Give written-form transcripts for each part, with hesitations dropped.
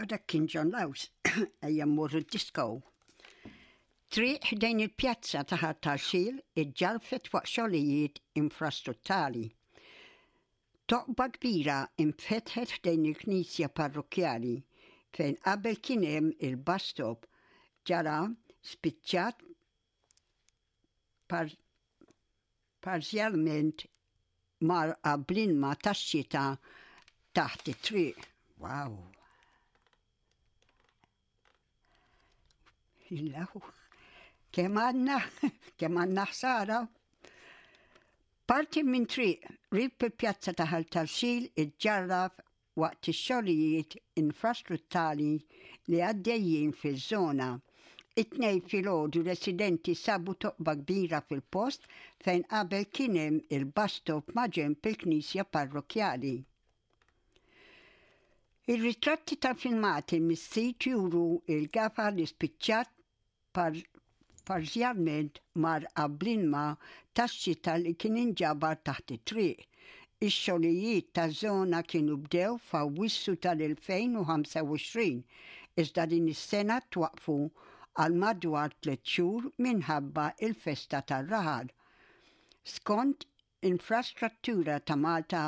U dak kien John Laws, ejja mmorru d-disco. Triq ħdejn il-pjazza ta' Ħal Tarxil iġġarfet waqt xogħlijiet infrastruttali. Toqba kbira infetħet ħdejn il-knisja parrokkjali fejn qabel kien hemm il-bus stop ġara spiċċat parzjalment mgħarrqa bl-ilma tax-xita taħt it-triq. Wow! Illahu, kemm għandna, kemm għandna ħsara. Parti minn triq rib il-pjazza ta' Ħal Tarxil iġġarraf waqt ix-xogħlijiet infrastruttali li għaddejjin fiż-żona. It-Tnejn filgħodu residenti sabu toqba kbira fil-post fejn qabel kien hemm il-bus stop maġenb il-knisja parrokkjali. Ir-ritratti tal-filmati mis-sit juru l-gafa li spiċċat parzjalment mgħarrqa bl-ilma tax-xita li kien inġabar taħt it-triq. Ix-xogħlijiet taż-żona kienu bdew f'Awwissu tal-2025, iżda din is-sena twaqqfu għal madwar tlett xhur minħabba l-festa tar-raħal. Skont Infrastruttura ta' Malta,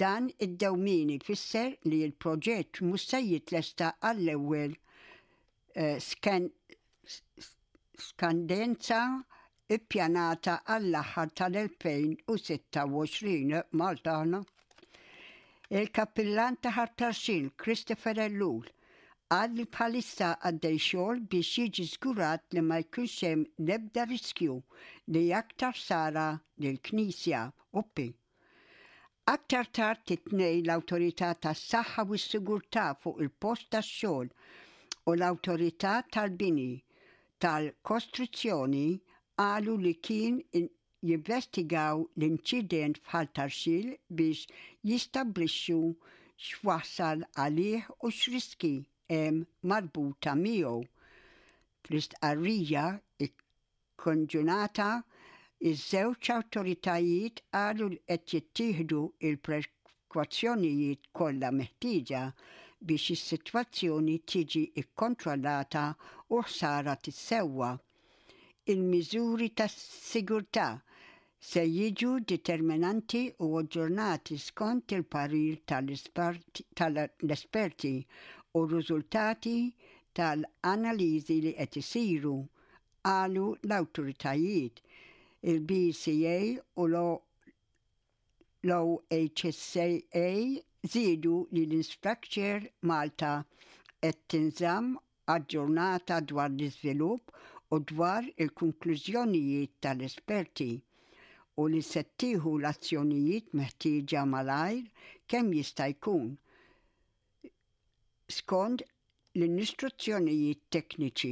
dan id-dewmien ifisser li l-proġett mhux se jitlesta għall-ewwel skandenza ppjanata għall-aħħar tal-2026. Malta aħna. Il-Kappillan ta' Ħal Tarxien, Christopher Ellul, Qal li bħalissa għaddej xogħol biex jiġi żgurat li ma jkunx hemm l-ebda riskju li aktar ħsara lill-Knisja. Uppi. Aktar tard it-Tnejn l-Awtorità tas-Saħħa u s-Sigurtà fuq il-Post tax-Xogħol u l-Awtorità tal-Bini tal-Kostruzzjoni qalu li kien jinvestigaw l-inċident f'Ħal Tarxil biex jistabblixxu x'wassal għalih u x'riskji hemm marbuta miegħu. Fl-istqarrija kkonġunata, iż-żewġ awtoritajiet qalu li qed jittieħdu l-prekwazzjonijiet kollha meħtieġa biex is-sitwazzjoni tiġi kkontrollata u l-ħsara tissewwa. Il-miżuri ta' sigurtà se jiġu determinanti u aġġornati skont il-parir tal-esperti u r-riżultati tal-analiżi li qed isiru, qalu l-awtoritajiet. Il-BCA u L-OHSA żiedu li l-Infrastructure Malta qed tinżamm aġġornata dwar l-iżvilupp u dwar il-konklużjonijiet tal-esperti u li se tieħu l-azzjonijiet meħtieġa malajr kemm jista' jkun skont l-istruzzjonijiet tekniċi.